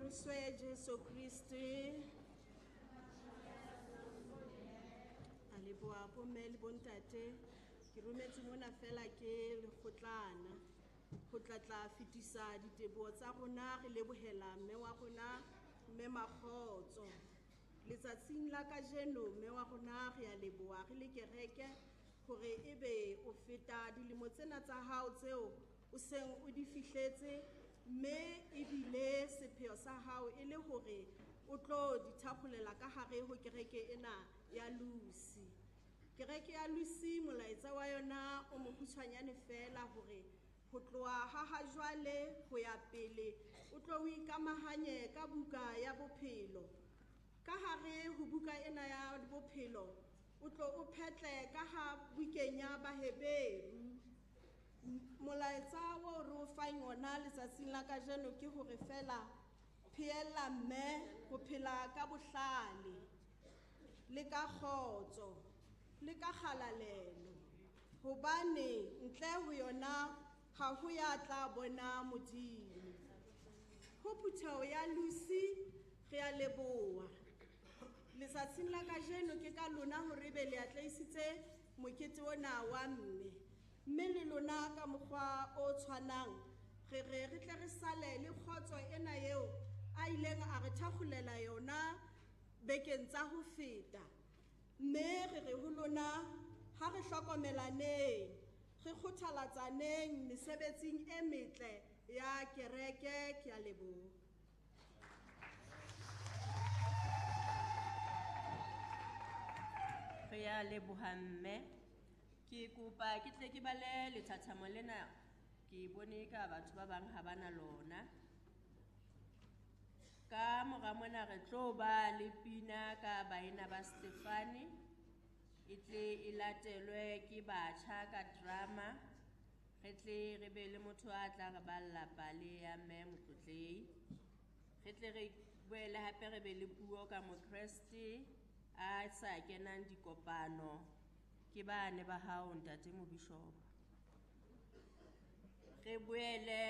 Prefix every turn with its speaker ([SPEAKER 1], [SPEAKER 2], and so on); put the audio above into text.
[SPEAKER 1] pholoswe Jesu Kriste. A leboha bomme le bontate. Ke rometse mona fela ke lekgotlana ho tla tla fetisa diteboho tsa rona, re lebohela mme wa rona mme Makgotso. Letsatsing la kajeno mme wa rona re a leboha re le kereke hore ebe o feta dilemo tsena tsa hao tseo o seng o di fihletse, mme ebile sepheo sa hao e le hore o tlo di thakgolela ka hare ho kereke ena ya Lusi. Kereke ya Lusi molaetsa wa yona o mokgutshwanyane fela hore ho tloha ha ha jwale ho ya pele o tlo o ikamahanye ka buka ya bophelo. Ka hare ho buka ena ya bophelo o tlo o phetle ka ha bukeng ya Baheberu. Molaetsa o re o fang ona letsatsing la kajeno ke hore fela pheella mme ho phela ka bohlale le ka kgotso le ka kgalalelo, hobane ntle ho yona ha ho ya tla bona Modimo. Ho phutheho ya Lusi re a leboha. Letsatsing la kajeno ke ka lona hore ebe le atlehisitse mokete ona wa mme. Mme le lona ka mokgwa o tshwanang re re re tle re sale le kgotso ena eo a ileng a re thakgolela yona bekeng tsa ho feta. Mme re re ho lona ha re hlokomelaneng, re kgothalatsaneng mesebetsing e metle ya kereke. Ke a leboha.
[SPEAKER 2] Re a leboha mme. Ke kopa ke tle ke bale lethathamo lena, ke bone ka batho ba bang ha bana lona. Ka mora mona re tlo ba le pina ka baena ba Stefane, e tle e latelwe ke batjha ka drama. Re tle re be le motho a tla re balla pale ya mme Motlotlehi. Re tle re boele hape re be le puo ka Mokreste a sa kenang dikopano. Ke bane ba hao ntate Mobishopo. Re boele